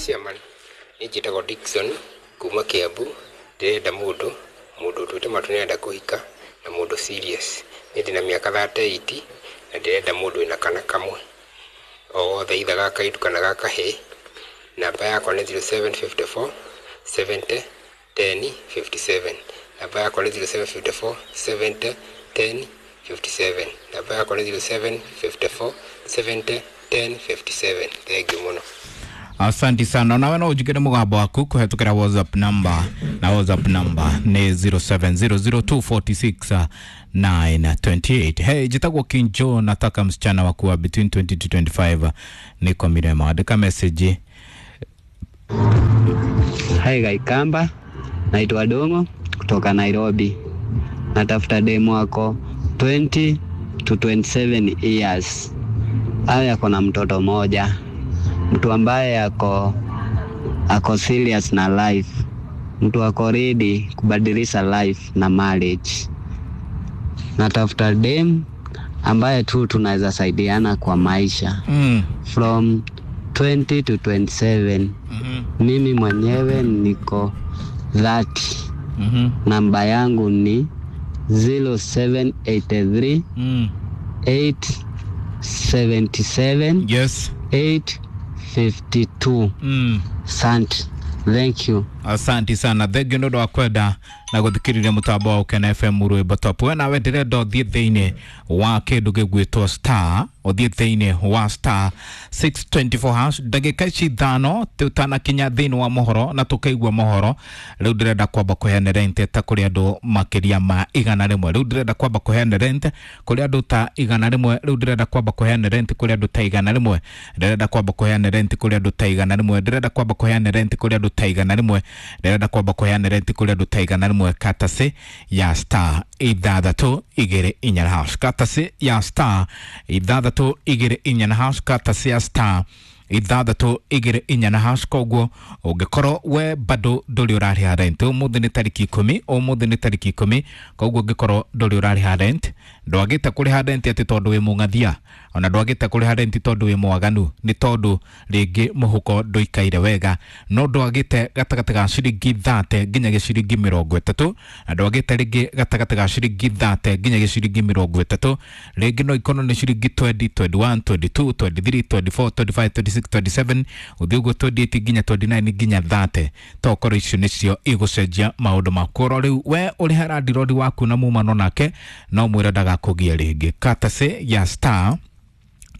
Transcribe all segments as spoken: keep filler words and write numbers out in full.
Chairman, niĩ njĩtagwo Dickson kuma Kiambu. Ndĩrenda mũndũ mũndũ ũtuĩte matua nĩarenda kũhika na mũndũ serious. Niĩ ndĩna mĩaka thirty eight na ndĩrenda mũndũ wĩna kana kamwe o wothe, either ga kairĩtu kana ga kahĩĩ. Namba yakwa nĩ zero seven fifty four seventy ten fifty seven. Namba yakwa nĩ zero seven fifty four seventy ten fifty seven. Namba yakwa nĩ zero seven fifty four seventy ten fifty seven. Thank you mũno. Asante sana. Nawe no ujikire mugambo waku kuhetukira WhatsApp number, na WhatsApp number ni zero seven zero zero two four six nine two eight. Hey, jitagwo Kinjo, nataka msichana wa kuwa between twenty to twenty-five, niko Mirema. Andika message. Hai Kaikamba, naitwa Dongo kutoka Nairobi. Natafuta demu wako twenty to twenty-seven years. Awe ako na mtoto moja. Mtu ambaye ako, ako serious na life. Mtu ako ready kubadilisha life na marriage. Natafuta dem ambaye tu tunaweza saidiana kwa maisha. Mm. From twenty to twenty-seven. Mm-hmm. Mimi mwenyewe niko thirty. Mm-hmm. Namba yangu ni zero seven eight three Mm. eight seventy-seven Yes. eight fifty-two. Mm. Asante. Thank you. Asante sana. Thank you ndu wa kwenda na guthikiriria mutambo wa Ukena F M rwimbo top. We nawe ndirenda uthie thiini wa kindu gigwitwo star, uthie thiini wa star six twenty-four hash ndagika ici ithano tutanakinya thiini wa mohoro na tukaigua mohoro. Riu ndirenda kwamba kuheana rent ta kuri andu makiria ma igana rimwe. Riu ndirenda kwamba kuheana rent kuri andu ta igana rimwe. Riu ndirenda kwamba kuheana rent kuri andu ta igana rimwe. Ndirenda kwamba kuheana rent kuri andu ta igana rimwe. Ndirenda kwamba kuheana rent kuri andu ta igana rimwe. Ndirenda kwamba kuheana rent kuri andu ta igana rimwe katase ya star ithathatũ igĩrĩ inya hash, katase ya star ithathatũ igĩrĩ inya hash, katase ya star ithathatũ igĩrĩ inya hash. Koguo ũngĩkorwo we bado ndũrĩ ũrarĩha rent, ũmũthĩ nĩ tarĩki ikũmi, ũmũthĩ nĩ tarĩki ikũmi. Koguo ũngĩkorwo ndũrĩ ũrarĩha rent, ndwagĩte kũrĩha rent atĩ tondũ wĩ mũng'athia, ona ndwagĩte kũrĩha rent tondũ wĩ mwaganu, nĩ tondũ rĩngĩ mũhuko ndũikaire wega, no ndwagĩte gatagatĩ ga ciringi thate nginya gĩciringi mĩrongo ĩtatũ, na ndwagĩte rĩngĩ gatagatĩ ga ciringi thate nginya gĩciringi mĩrongo ĩtatũ, rĩngĩ no ikorwo nĩ ciringi twenty, twenty-one, twenty-two, twenty-three, twenty-four, twenty-five, twenty-six, twenty-seven, ũthiĩ ũguo twenty-eight nginya twenty-nine nginya thate. Tokorwo icio nĩcio igũcenjia maũndũ maku. Oro rĩu we ũrĩha landirodi waku na mumano nake, no mwĩre ndagakũgie rĩngĩ. Katase ya star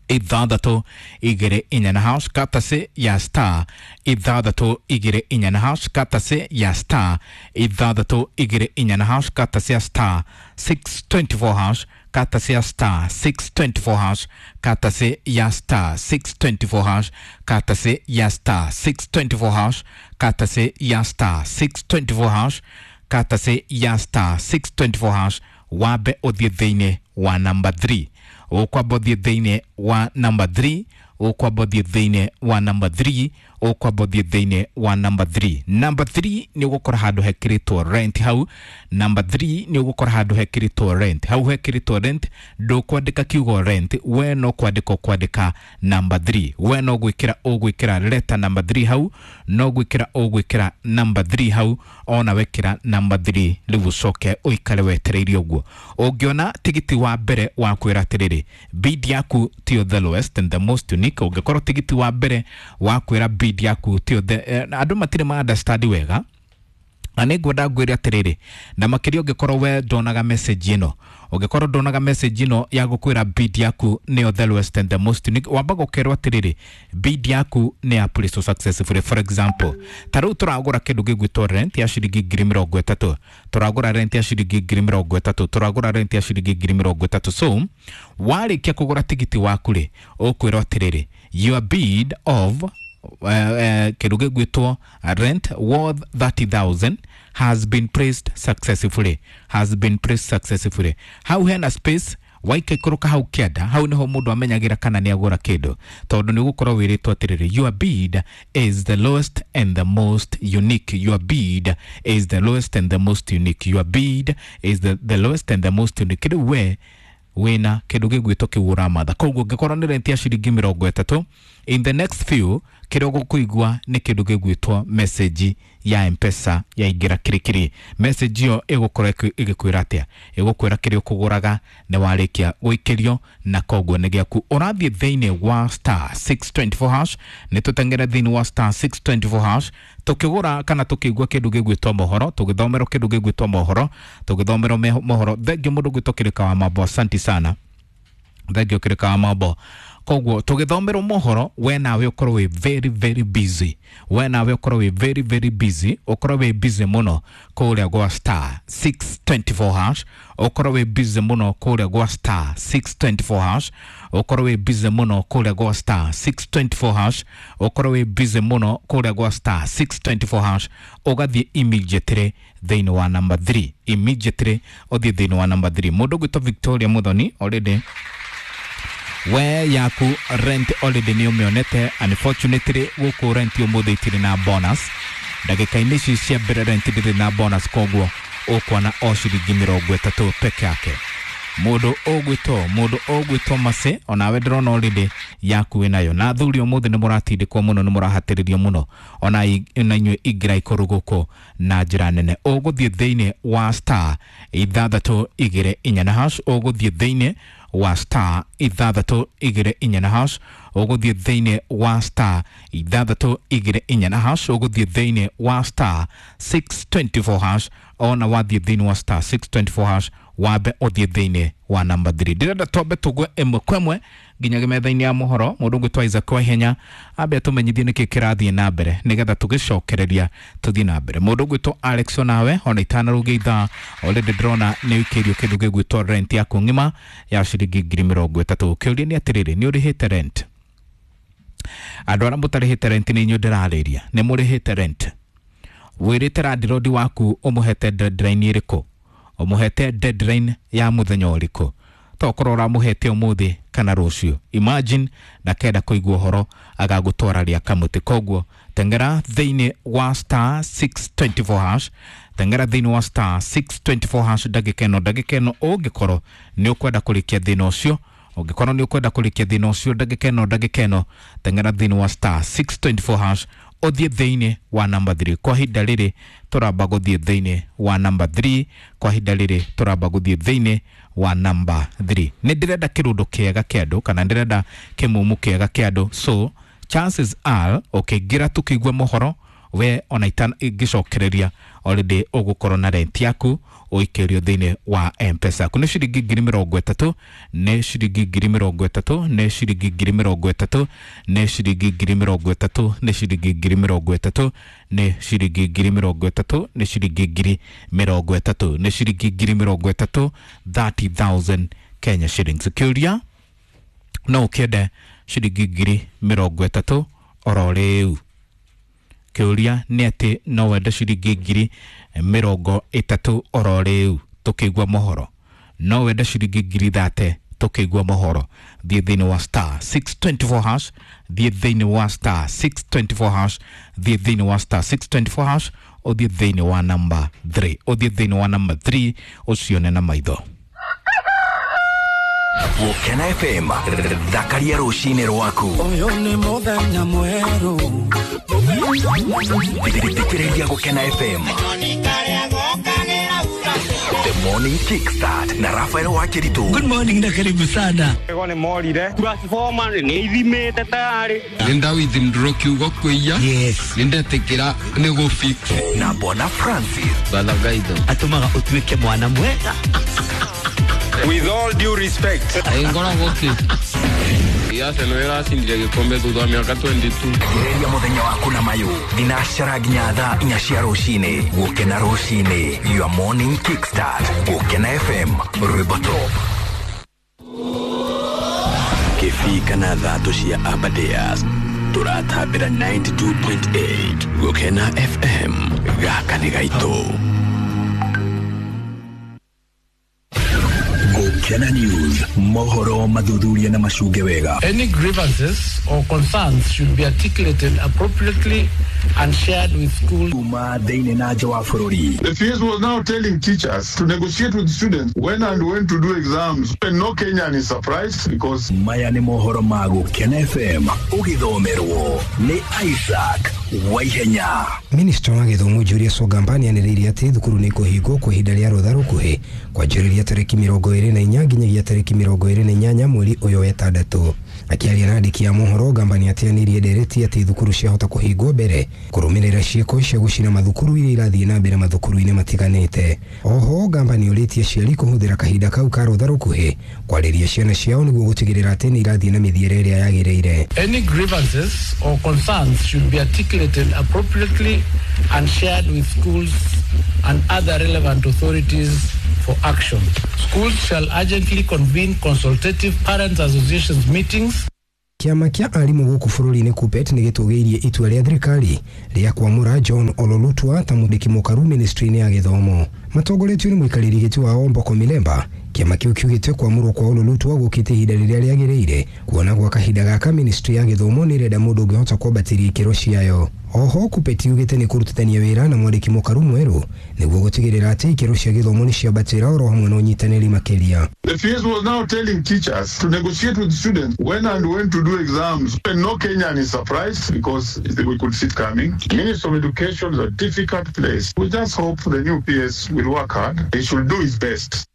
ithathatũ igĩrĩ inya na hash, katase ya star ithathatũ igĩrĩ inya na hash, katase ya star ithathatũ igĩrĩ inya na hash, katase ya star six twenty-four hash, katase ya star six twenty-four hash, katase ya star six twenty-four hash, katase ya star six twenty-four hash, katase ya star six twenty-four hash, katase ya star six twenty-four hash. Wabe ũthiĩ thĩinĩ wa number three, ũkwamba ũthiĩ thĩinĩ wa number three, ũkwamba ũthiĩ thĩinĩ wa number three, ũkwamba ũthiĩ thĩinĩ wa number three. Number three nĩ ũgũkora handũ hekĩrĩtwo rent hau. Number three nĩ ũgũkora handũ hekĩrĩtwo rent hau. Hekĩrĩtwo rent, ndũkwandĩka kiugo rent, we no kwandĩka ũkwandĩka number three. We no gwĩkĩra ũgwĩkĩra letter number three hau, no gwĩkĩra ũgwĩkĩra number three hau, ona wekĩra number three rĩu ũcoke ũikare wetereire ũguo. Ũngĩona tigiti wa mbere wa kwĩra atĩrĩrĩ, bid yaku tiyo the lowest and the most unique. Ũngĩkorwo tigiti wa mbere wa kwĩra bid yaku tiyo the, eh, andũ matirĩ ma understand wega, na nĩ ngwenda ngwĩre atĩrĩrĩ, na makĩria ũngĩkorwo we ndonaga message ĩno, ũngĩkorwo ndonaga message ĩno ya gũkwĩra bid yaku nĩyo the lowest and the most unique, wambaga ũkerwo atĩrĩrĩ, bid yaku nĩ ya placed successfully. For example, ta rĩu tũragũra kĩndũ gĩgwĩtwo rent ya ciringi ngiri mĩrongo ĩtatũ, tũragũra rent ya ciringi ngiri mĩrongo ĩtatũ, tũragũra rent ya ciringi ngiri mĩrongo ĩtatũ. So warĩkia kũgũra tigiti waku rĩ, ũkwĩrwo atĩrĩrĩ, your bid of Uh, uh, kĩndũ gĩgwĩtwo rent worth thirty thousand has been placed successfully, has been placed successfully. Hau hena space waika ikũrũka hau kĩanda, hau nĩho mũndũ amenyagĩra kana nĩ agũra kĩndũ, tondũ nĩ ũgũkorwo wĩrĩtwo atĩrĩrĩ, your bid is the lowest and the most unique, your bid is the lowest and the most unique, your bid is the, the lowest and the most unique. Rĩu we wina kindu gigwitwo kiu uramatha. Koguo ngikorwo ni rent ya ciringi mirongo itatu, in the next few Kĩrĩa ũgũkũigua nĩ kĩndũ gĩgwĩtwo message ya M-Pesa yaingĩra kirikiri. Message ĩyo ĩgũkorwo ĩgĩkwĩra atĩa? Ĩgũkwĩra kĩrĩa ũkũgũraga nĩ warĩkia gũikĩrio na koguo nĩ gĩaku. Ũrathiĩ thĩinĩ wa star six twenty four hash, nĩ tũteng'ere thĩinĩ wa star six twenty four hash tũkĩgũra kana tũkĩigua kĩndũ gĩgwĩtwo mohoro, tũgĩthomerwo kĩndũ gĩgwĩtwo mohoro, tũgĩthomerwo mohoro. Thengiũ mũndũ gwĩtwo Kĩrĩka wa Mambo, asanti sana. Thengiũ Kĩrĩka wa Mambo. Koguo tũgĩthomerwo mohoro, we nawe ũkorwo wĩ very very busy, we nawe ũkorwo wĩ very very busy, ũkorwo wĩ busy mũno kũrĩa gwa star six twenty four hash, ũkorwo wĩ busy mũno kũrĩa gwa star six twenty four hash, ũkorwo wĩ busy mũno kũrĩa gwa star six twenty four hash, ũkorwo wĩ busy mũno kũrĩa gwa star six twenty four hash, ũgathiĩ immediately thĩinĩ wa number three, immediately ũthiĩ thĩinĩ wa number three. Mũndũ ũgwĩtwo Victoria Muthoni already we yaku rent already nĩ ũmĩonete. Unfortunately gũkũ rent ũmũthĩ itirĩ na bonus, ndagĩka-inĩ ici cia mbere rent ndĩrĩ na bonus, koguo ũkuona o ciringi mĩrongo ĩtatũ peke yake. Mũndũ ũgwĩtwo mũndũ ũgwĩtwo Mase, onawe ndĩrona already yaku wĩnayo. Na athuri ũmũthĩ nĩ mũratindĩkwo mũno, nĩ mũrahatĩrĩrio mũno, ona inyuĩ ingĩra ikũrũ gũkũ na njĩra nene. Ũgũthiĩ thĩinĩ wa star ithathatũ igĩrĩ inya na hash, ũgũthiĩ thĩinĩ wa star ithathatũ igĩrĩ inya na hash, ũgũthiĩ thĩinĩ wa star ithathatũ igĩrĩ inya na hash, ũgũthiĩ thĩinĩ wa star six twenty four hash. Ona wathiĩ thĩinĩ wa star six twenty four hash, wambe ũthiĩ thĩinĩ wa number three. Ndĩrenda twambe tũgwe ĩmwe kwa ĩmwe nginya metha-inĩ ya mohoro. Mũndũ ũgwĩtwo Isaac Waihenya ambe atũmenyithie nĩkĩ kĩrathiĩ na mbere nĩgetha tũgĩcokereria tũthiĩ na mbere. Mũndũ ũgwĩtwo Alex onawe ona itanarũgia ithaa already ndĩrona nĩ ũikĩirio kĩndũ gĩgwĩtwo rent yaku ng'ima ya ciringi ngiri mĩrongo ĩtatũ. Kĩũria nĩ atĩrĩrĩ, nĩ ũrĩhĩte rent? Andũ arĩa mũtarĩhĩte rent nĩ inyuĩ ndĩrarĩria, nĩ mũrĩhĩte rent? Wĩrĩte landlord waku ũmũhete deadline ĩrĩkũ? Ũmũhete deadline ya mũthenya ũrĩkũ? Tokorwo ũramũhete ũmũthĩ kana rũciũ. Imagine ndakenda kũigua ũhoro agagũtwara rĩa kamũtĩ. Koguo teng'era thĩinĩ wa star six twenty four hash, teng'era thĩinĩ wa star six twenty four hash ndagĩka ĩno ndagĩka ĩno ũngĩkorwo nĩ ũkwenda kũrĩkia thĩna ũcio, ũngĩkorwo nĩ ũkwenda kũrĩkia thĩna ũcio ndagĩka ĩno ndagĩka ĩno teng'era thĩinĩ wa star six twenty four hash, ũthiĩ thĩinĩ wa number three. Kwa ihinda rĩrĩ tũramba gũthiĩ thĩinĩ wa number three, kwa ihinda rĩrĩ tũramba gũthiĩ thĩinĩ wa number three. Nĩ ndĩrenda kĩrũndo kĩega kĩa andũ kana ndĩrenda kĩmumu kĩega kĩa andũ, so chances are ũkĩingĩra tũkĩigua mohoro we ona ingĩcokereria already ũgũkorwo na rent yaku ũikĩrio thĩinĩ wa M-Pesa yaku. Nĩ ciringi ngiri mĩrongo ĩtatũ, nĩ ciringi ngiri mĩrongo ĩtatũ, nĩ ciringi ngiri mĩrongo ĩtatũ, nĩ ciringi ngiri mĩrongo ĩtatũ, nĩ ciringi ngiri mĩrongo ĩtatũ, nĩ ciringi ngiri mĩrongo ĩtatũ, nĩ ciringi ngiri mĩrongo ĩtatũ, nĩ ciringi ngiri mĩrongo ĩtatũ, thirty thousand Kenya shillings. Kĩũria no ũkĩende ciringi ngiri mĩrongo ĩtatũ oro rĩu? Kĩũria nĩ atĩ no wende ciringi ngiri mĩrongo ĩtatũ oro rĩu tũkĩigua mohoro? No wende ciringi ngiri thate tũkĩigua mohoro? Thiĩ thĩinĩ wa star six twenty four hash, thiĩ thĩinĩ wa star six twenty four hash, thiĩ thĩinĩ wa star six twenty four hash, ũthiĩ thĩinĩ wa number three, ũthiĩ thĩinĩ wa number three ũcione na maitho. Gũkena F M, thakaria rũcinĩ rwaku. Ũyũ nĩ mũthenya mwerũ. Thikĩrĩria Gũkena F M. The Morning Kickstart na Rafael Wakiritu. Good morning na karibu sana. Ego nĩ morire. Transformer nĩ ithimĩte tayari. Nĩ withdraw kiugo kwĩya. Yes. Nĩ ndetĩkĩra nĩ gũ fix. Na Bona Francis. Balagaitho. Atũmaga ũtuĩke mwana mwega. With all due respect. Ngoragwo kĩ? Arsenal ĩracindire gĩkombe thutha wa mĩaka twenty two. Gereria mũthenya waku na mayũ thinacara nginya thaa inya cia rũcinĩ. Gũkena rũcinĩ, your morning kickstart. Gũkena F M, rwĩmbo top. Kĩbii kana thatũ cia Aberdares tũratambĩra ninety two point eight Gũkena F M. Gaka nĩ gaitũ. Gukena News, mohoro mathuthuria na macunge wega. Any grievances or concerns should be articulated appropriately and shared with schools. Kuma thĩinĩ na nja wa bũrũri. The P S was now telling teachers to negotiate with students when and when to do exams. And no Kenyan is surprised because maya nĩ mohoro ma Gukena F M ũgĩthomerwo nĩ Isaac Waihenya. Minister wa gĩthomo Julius Ogamba nĩanĩrĩire atĩ thukuru nĩ ikũhingwo kwa ihinda rĩa rũtha rũkuhĩ kwanjĩrĩria tarĩki mĩrongo ĩrĩ na inya nginyagia tarĩki mĩrongo ĩrĩ na inyanya mweri ũyũ wa ĩtandatũ. Akĩaria na andĩki a mohoro, Ogamba nĩateanĩirie ndereti atĩ thukuru ciahota kũhingwo mbere kũrũmĩrĩra ciĩko cia gũcina mathukuru iria irathiĩ na mbere mathukuru-inĩ matiganĩte. Oho Ogamba nĩorĩtie aciari kũhũthĩra kahinda kau ka rũtha rũkuhĩ kwarĩria ciana ciao nĩguo gũtigĩrĩra atĩ nĩ irathiĩ na mĩthiĩre ĩrĩa yagĩrĩire. Any grievances or concerns should be articulated appropriately and shared with schools and other relevant authorities for action. Schools shall urgently convene consultative parents associations meetings. Kĩama kĩa arimũ gũkũ bũrũri-inĩ KUPPET nĩ gĩtũgĩirie itua rĩa thirikari rĩa kwamũra John Ololutwa ta mwandĩki mũkaru ministry-inĩ ya gĩthomo. Matongoretio nĩ mũikarĩri gĩtĩ wao Mboko Milemba, kĩama kĩu kiugĩte kwamũrwo kwa Ololutwa gũkĩte ihinda rĩrĩa rĩagĩrĩire, kuona gwa kahinda gaka ministry ya gĩthomo nĩ ĩrenda mũndũ ũngĩhota kwambatĩria ikĩro ciayo. Oho KUPPET yugĩte nĩ kũrutithania wĩra na mwandĩki mũkaru mwerũ nĩguo gũtigĩrĩra atĩ ikĩro cia gĩthomo nĩ ciambatĩra oro hamwe na ũnyitanĩri makĩria. The P S was now telling teachers to negotiate with students when and when to do exams. And no Kenyan is surprised because we could see it coming. Ministry of Education is a difficult place. We just hope the new P S will work hard. He should do his best.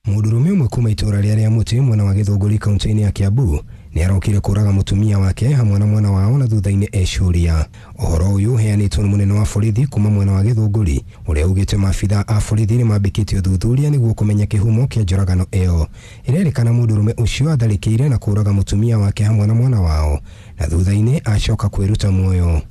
Mũndũrũme ũmwe kuma itũũra rĩa Rĩamũtĩ mwena wa Gĩthũngũri kaunti-inĩ ya Kiambu nĩarokire kũraga mũtumia wake hamwe na mwana wao na thutha-inĩ ecuria. Ũhoro ũyũ ũheanĩtwo nĩ mũnene wa borithi kuma mwena wa Gĩthũngũri ũrĩa ugĩte maabitha a borithi nĩmambĩkĩte ũthuthuria nĩguo kũmenya kĩhumo kĩa njũragano ĩyo. Ĩrerĩkana mũndũrũme ũcio atharĩkĩire na kũraga mũtumia wake hamwe na mwana wao na thutha-inĩ acoka kwĩruta muoyo.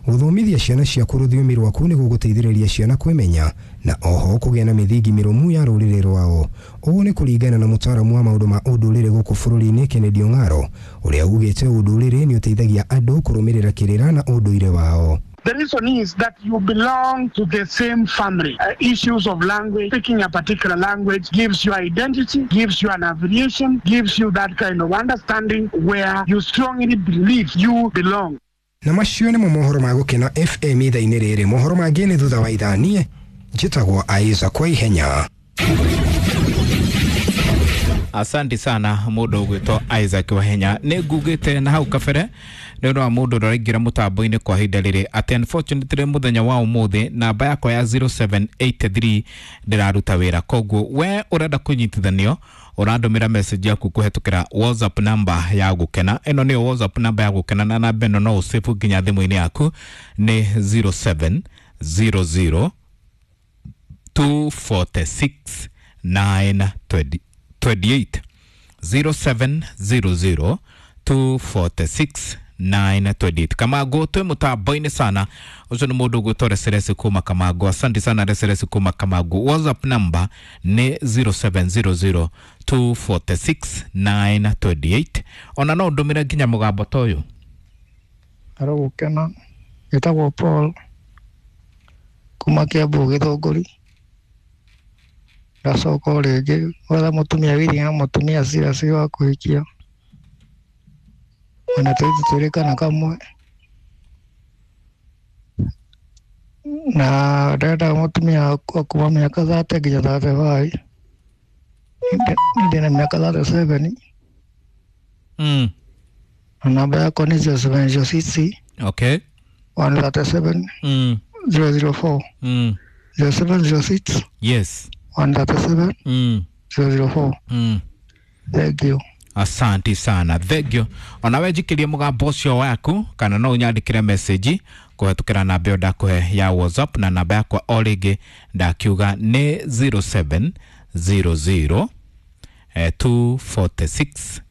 Gũthomithia ciana ciaku rũthiomi rwaku nĩ gũgũteithĩrĩria ciana kwĩmenya na oho kũgĩa na mĩthingi mĩrũmu ya rũrĩrĩ rwao. Ũũ nĩ kũringana na mũtaaramu wa maũndũ ma ũndũrĩre gũkũ bũrũri-inĩ Kennedy Ong'aro ũrĩa ugĩte ũndũrĩre nĩ ũteithagia andũ kũrũmĩrĩra kĩrĩra na ũndũire wao. The reason is that you belong to the same family. Uh, issues of language, speaking a particular language gives you identity, gives you an affiliation, gives you that kind of understanding where you strongly believe you belong. Na macio nĩmo mohoro ma Gũkena F M ithaa-inĩ rĩrĩ. Mohoro mangĩ nĩ thutha wa ithaa. Niĩ njĩtagwo Isaac Waihenya. Asante sana mũndũ ũgwĩtwo Isaac Wahenya. Nĩ ngugĩte na hau kabere nĩ ũndũ wa mũndũ ũrĩa ũraingĩra mũtambo-inĩ kwa ihinda rĩrĩ atĩ unfortunately mũthenya wa ũmũthĩ namba yakwa ya zero seven eight three ndĩraruta wĩra, koguo we ũrenda kũnyitithanio ũrandũmĩra message yaku kũhetũkĩra WhatsApp number ya Gũkena. Ĩno nĩyo WhatsApp number ya Gũkena na namba ĩno no ũsave nginya thimũ-inĩ yaku nĩ zero seven zero zero two four six nine two eight zero seven zero zero two four six nine two eight. Kamago twe mutambo-inĩ sana ucio nĩ mũndũ ũgwĩtwo Reseresi kuma Kamago. Asante sana Reseresi kuma Kamago. WhatsApp number nĩ zero seven zero zero two four six nine two eight. Ona no ndũmĩre nginya mũgambo ta ũyũ. Aro Gũkena, njĩtagwo Paul kuma Kiambu Gĩthũngũri. Ndacoka o rĩngĩ gwetha mũtumia wĩirie na mũtumia serious wa kũhikia. Ona tũirĩtu twĩrĩ kana kamwe. Na ndĩrenda mũtumia wa kuma mĩaka thate nginya thate five. Ndĩ na mĩaka thate seven. Mm. Na namba yakwa nĩ zero seven zero six. Okay. one thirty seven. Mm. zero zero four. Mm. zero seven zero six. Yes. one thirty seven. Mm. zero zero four. Mm. Thank you. Asante sana. Thank you. Ona we njikirie mũgambo ũcio waku kana no ũnyandĩkĩre message kũhetũkĩra namba ĩyo ndakũhe ya WhatsApp na namba yakwa o rĩngĩ ndakiuga nĩ zero seven zero zero two four six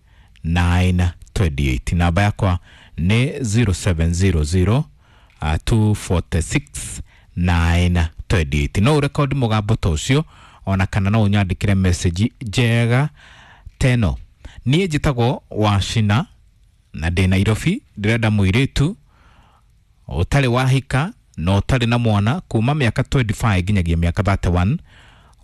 nine two eight. Namba yakwa nĩ zero seven zero zero two four six nine two eight. No ũrekodi mũgambo ta ũcio ona kana no ũnyandĩkĩre message njega teno. Niĩ njĩtagwo Wacina na ndĩ Nairobi. Ndĩrenda mũirĩtu ũtarĩ wahika na ũtarĩ na mwana kuma mĩaka twenty-five nginyagia mĩaka thirty-one,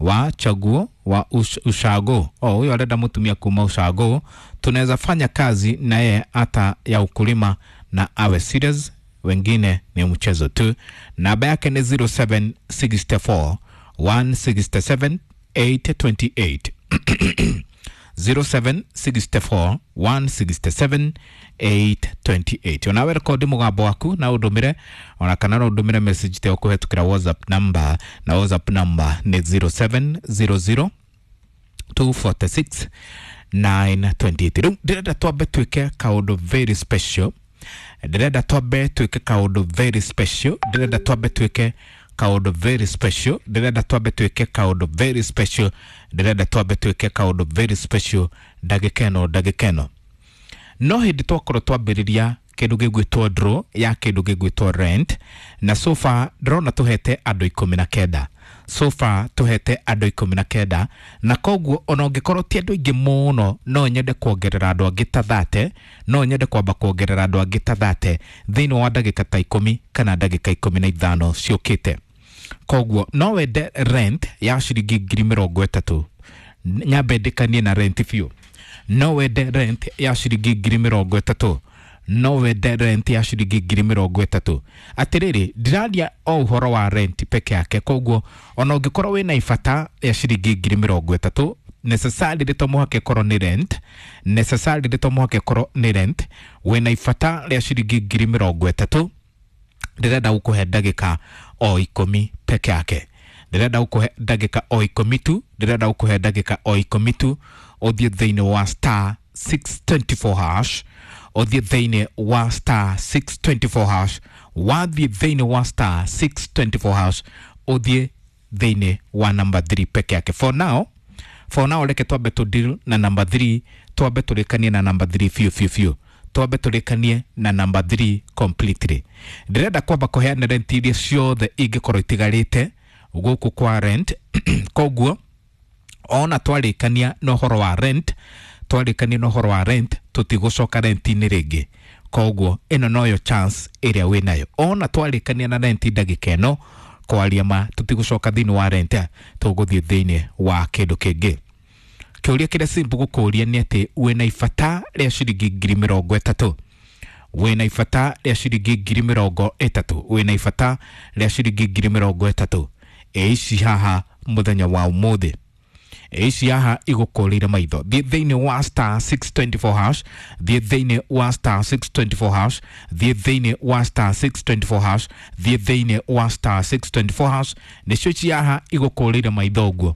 wa chaguo wa ush, ushago. Oh, huyo arenda mutumia kuma ushago, tunaweza fanya kazi naye hata ya ukulima na awe serious, wengine ni mchezo tu. Namba yake ni zero seven six four one six seven eight two eight zero seven six four one six seven eight two eight. Onawe rekodi mugambo waku na undumire ona kana no undumire message te ukuhetukira WhatsApp number, na WhatsApp number ni zero seven zero zero two four six nine two eight. Riu ndirenda twambe twike kaundu very special, ndirenda twambe twike kaundu very special, ndirenda twambe twike kaundu very special, ndirenda twambe twike kaundu very special, ndirenda twambe twike kaundu very special ndagika ĩno ndagika ĩno. No hĩndĩ twakorwo twambĩrĩria kĩndũ gĩgwĩtwo draw ya kĩndũ gĩgwĩtwo rent, na so far ndĩrona tũhete andũ ikũmi na kenda, so far tũhete andũ ikũmi na kenda, na koguo ona ũngĩkorwo ti andũ aingĩ mũno no nyende kuongerera andũ angĩ ta thate, no nyende kwamba kuongerera andũ angĩ ta thate thĩinĩ wa ndagĩka ta ikũmi kana ndagĩka ikũmi na ithano ciũkĩte. Koguo no wende rent ya ciringi ngiri mĩrongo ĩtatũ, nyambe ndĩkanie na rent biũ. No wende rent ya ciringi ngiri mĩrongo ĩtatũ, no wende rent ya ciringi ngiri mĩrongo ĩtatũ. Atĩrĩrĩ, ndiraria o ũhoro wa rent peke yake, koguo ona ũngĩkorwo wĩna ibata ya ciringi ngiri mĩrongo ĩtatũ, necessarily to mũhaka ĩkorwo nĩ rent, necessarily to mũhaka ĩkorwo nĩ rent, wĩna ibata rĩa ciringi ngiri mĩrongo ĩtatũ, ndĩrenda gũkũhe ndagĩka o ikũmi peke yake, ndĩrenda gũkũhe ndagĩka o ikũmi tu, ndĩrenda gũkũhe ndagĩka o ikũmi tu, ũthiĩ thĩinĩ wa star six two four hash, ũthiĩ thĩinĩ wa star six two four hash, wathiĩ thĩinĩ wa star six two four hash, ũthiĩ thĩinĩ wa number three peke yake. For now, for now reke twambe tũ deal na number three, twambe tũrĩkanie na number three biũ biũ biũ, twambe tũrĩkanie na number three completely. Ndĩrenda kwamba kũheana rent iria ciothe ingĩkorwo itigarĩte gũkũ kwa rent koguo ona twarĩkania na ũhoro wa rent, twarĩkania na ũhoro wa rent tũtigũcoka rent-inĩ rĩngĩ. Koguo ĩno noyo chance ĩrĩa wĩnayo. Ona twarĩkania na rent ndagĩka ĩno, kwaria ma tũtigũcoka thĩinĩ wa rent, tũgũthiĩ thĩinĩ wa kĩndũ kĩngĩ. Kĩũria kĩrĩa simple gũkũria nĩ atĩ wĩna ibata rĩa ciringi ngiri mĩrongo ĩtatũ, wĩna ibata rĩa ciringi ngiri mĩrongo ĩtatũ, wĩna ibata rĩa ciringi ngiri mĩrongo ĩtatũ. Ĩ ici haha mũthenya wa ũmũthĩ, ĩ ici haha igũkũrĩire maitho. Thiĩ thĩinĩ wa star six two four hash, thiĩ thĩinĩ wa star six two four hash, thiĩ thĩinĩ wa star six two four hash, thiĩ thĩinĩ wa star six two four hash. Nĩcio ici haha igũkũrĩire maitho ũguo,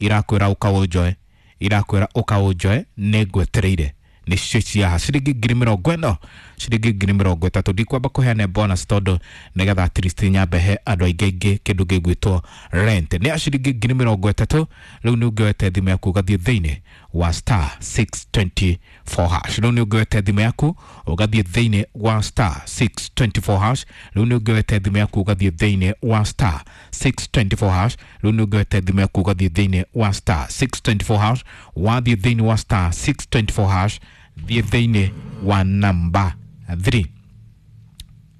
irakwĩra ũkaũnjoe, irakwĩra ũkaũnjoe, nĩngwetereire. Nĩcio ici haha ciringi ngiri mĩrongo ĩno, ciringi ngiri mĩrongo ĩtatũ. Ndikwamba kũheana bonus tondũ nĩgetha at least nyambe he andũ aingĩ aingĩ kĩndũ gĩgwĩtwo rent. Nĩ ya ciringi ngiri mĩrongo ĩtatũ. Rĩu nĩ ũngĩoete thimũ yaku ũgathiĩ thĩinĩ wa star six two four hash, rĩu nĩ ũngĩoete thimũ yaku ũgathiĩ thĩinĩ wa star six two four hash, rĩu nĩ ũngĩoete thimũ yaku ũgathiĩ thĩinĩ wa star six two four hash, rĩu nĩ ũngĩoete thimũ yaku ũgathiĩ thĩinĩ wa star six two four hash, wathiĩ thĩinĩ wa star six two four hash, thiĩ thĩinĩ wa number three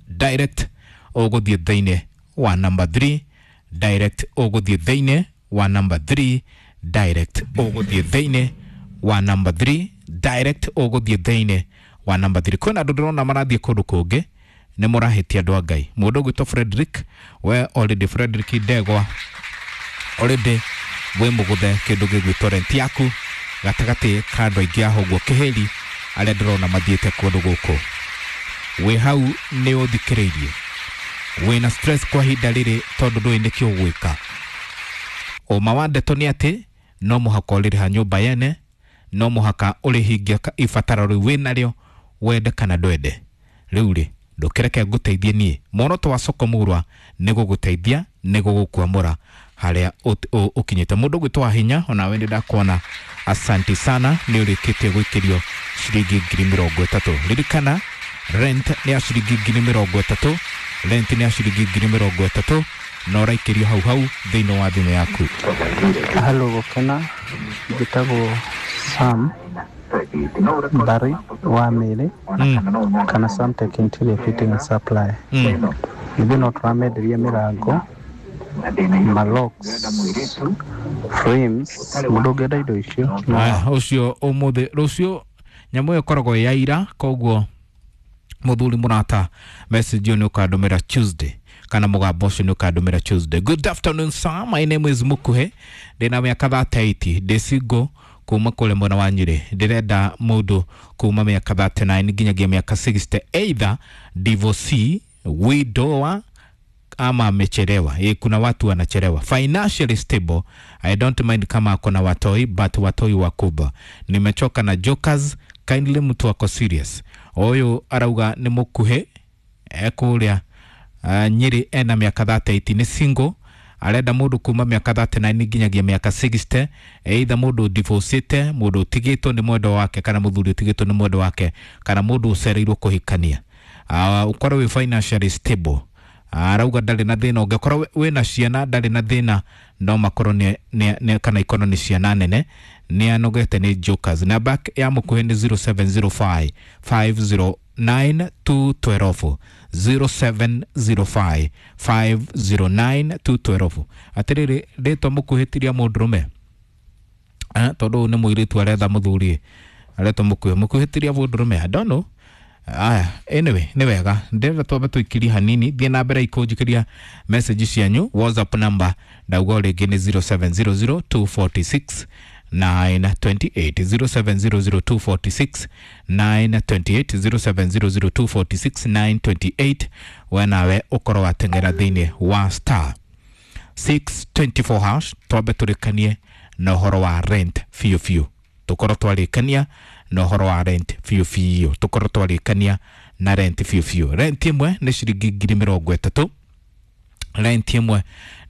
direct, ũgũthiĩ thĩinĩ wa number three direct, ũgũthiĩ thĩinĩ wa number three direct, ũgũthiĩ thĩinĩ wa number three direct, ũgũthiĩ thĩinĩ wa number three. Kwĩna andũ ndĩrona marathiĩ kũndũ kũngĩ, nĩ mũrahĩtia andũ a Ngai. Mũndũ ũgwĩtwo Frederick, we already Frederick Ndegwa already wĩ mũgũthe kĩndũ gĩgwĩtwo rent yaku gatagatĩ ka andũ aingĩ aho ũguo kĩhĩri arĩa ndĩrona mathiĩte kũndũ gũkũ. Wĩ hau nĩ ũthikĩrĩirie, wĩna stress kwa ihinda rĩrĩ tondũ ndũĩ nĩkĩ ũgwĩka. Ũma wa ndeto nĩ atĩ no mũhaka ũrĩrĩha nyũmba yene, no mũhaka ũrĩhingia ibataro rĩu wĩnarĩo, wende kana ndwende. Rĩu rĩ, ndũkĩreke ngũteithie niĩ. Muoroto wa Soko Murwa nĩ gũgũteithia, nĩ gũgũkwamũra harĩa ũkinyĩte. Mũndũ ũgwĩtwo Wahinya, onawe nĩ ndakuona, asanti sana, nĩ ũrĩkĩtie gwĩkĩrio ciringi ngiri mĩrongo ĩtatũ. Ririkana rent nĩ ya ciringi ngiri mĩrongo ĩtatũ, rent nĩ ya ciringi ngiri mĩrongo ĩtatũ, na ũraikĩrio hau hau thĩinĩ wa thimũ yaku. Halo Gũkena, njĩtagwo Sam Barry wa Mĩrĩ mm. kana Samtech Interior Fitting Supply. mm. Ithuĩ no tũramenderia mĩrango, malocks, Frames mũndũ ũngĩenda indo icio no Aya, ũcio ũmũthĩ rũciũ nyamũ ĩyo ĩkoragwo ĩ ya ira, koguo mũthuri mũrata message ĩyo nĩ ũkandũmĩra Tuesday kana mũgambo ũcio nĩ ũkandũmĩra Tuesday. Good afternoon sir, my name is Mukuhe, ndĩna mĩaka thirty-eight, ndĩ single kuma kũrĩa mwena wa Nyĩrĩ, ndĩrenda mũndũ kuma mĩaka thirty-nine nginyagia mĩaka sixty, either divorcee, widower ama amechelewa. E, kuna watu wanachelewa. Financially stable, I don't mind kama ako na watoi, but watoi wakubwa. Nimechoka na jokers, kindly mtu wako serious. Oyo arauga nĩ mũkuhĩ ekũrĩa uh, Nyĩrĩ, ena mĩaka thirty-eight, nĩ single, arenda mũndũ kuma mĩaka thirty-nine nginyagia mĩaka sixty, either mũndũ divorcete, mũndũ ũtigĩtwo nĩ mwendwa wake kana mũthuri ũtigĩtwo nĩ mwendwa wake kana mũndũ ũcereirwo kũhikania, uh, ũkorwo wĩ financially stable. Arauga ndarĩ na thĩna, ũngĩkorwo wĩna ciana ndarĩ na thĩna, no makorwo nĩ, nĩ, nĩ kana ikorwo nĩ ciana nene. Nĩ anogete nĩ jokers. Namba ya mũkuhĩ nĩ zero seven zero five five zero nine two twelve, zero seven zero five five zero nine two twelve. Atĩrĩrĩ, rĩtwa mũkuhĩ ti rĩa mũndũrũme, eh, tondũ ũyũ nĩ mũirĩtu aretha mũthuri, aretwo mũkuhĩ. Mũkuhĩ ti rĩa mũndũrũme, I don't know. Aya, anyway, nĩ wega ndĩrenda twambe tũikirie hanini, thiĩ na mbere ikũnjikĩria message cianyu. WhatsApp number ndauga o rĩngĩ nĩ zero seven zero zero two forty six nine twenty eight, zero seven zero zero two forty six nine twenty eight, zero seven zero zero two forty six nine twenty eight. We nawe ũkorwo wateng'era thĩinĩ wa star six twenty four hash, twambe tũrĩkanie na ũhoro wa rent biũ biũ, tũkorwo twarĩkania na ũhoro wa rent biũ biũ, tũkorwo twarĩkania na rent biũ biũ. Rent ĩmwe nĩ ciringi ngiri mĩrongo ĩtatũ, rent ĩmwe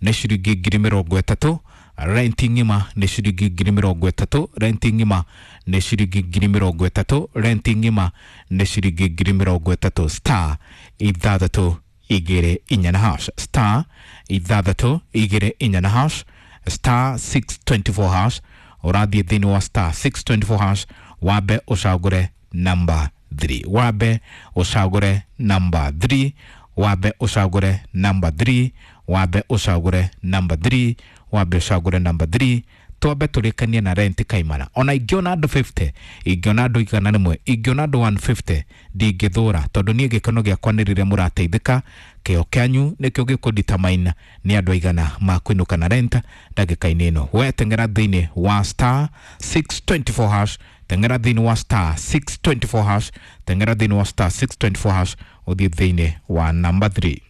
nĩ ciringi ngiri mĩrongo ĩtatũ, rent ng'ima nĩ ciringi ngiri mĩrongo ĩtatũ, rent ng'ima nĩ ciringi ngiri mĩrongo ĩtatũ, rent ng'ima nĩ ciringi ngiri mĩrongo ĩtatũ. Star ithathatũ igĩrĩ inya na hash, star ithathatũ igĩrĩ inya na hash, star six twenty four hash. Ũrathiĩ thĩinĩ wa star six twenty four hash, wambe ũcagũre number three, wambe ũcagũre number three, wambe ũcagũre number three, wambe ũcagũre number three, wambe ũcagũre number three. Twambe tũrĩkanie na rent kaimana. Ona ingĩona andũ fifty, ingĩona andũ igana rĩmwe, ingĩona andũ one fifty, ndingĩthũra, tondũ niĩ gĩkeno gĩakwa nĩ rĩrĩa mũrateithĩka. Kĩo kĩanyu nĩkĩo gĩkũdetermine nĩ andũ aigana makwĩnũka na rent ndagĩka-inĩ ĩno. We teng'era thĩinĩ wa star six twenty four hash, teng'era thĩinĩ wa star six twenty four hash, teng'era thĩinĩ wa star six twenty four hash, ũthiĩ thĩinĩ wa number three.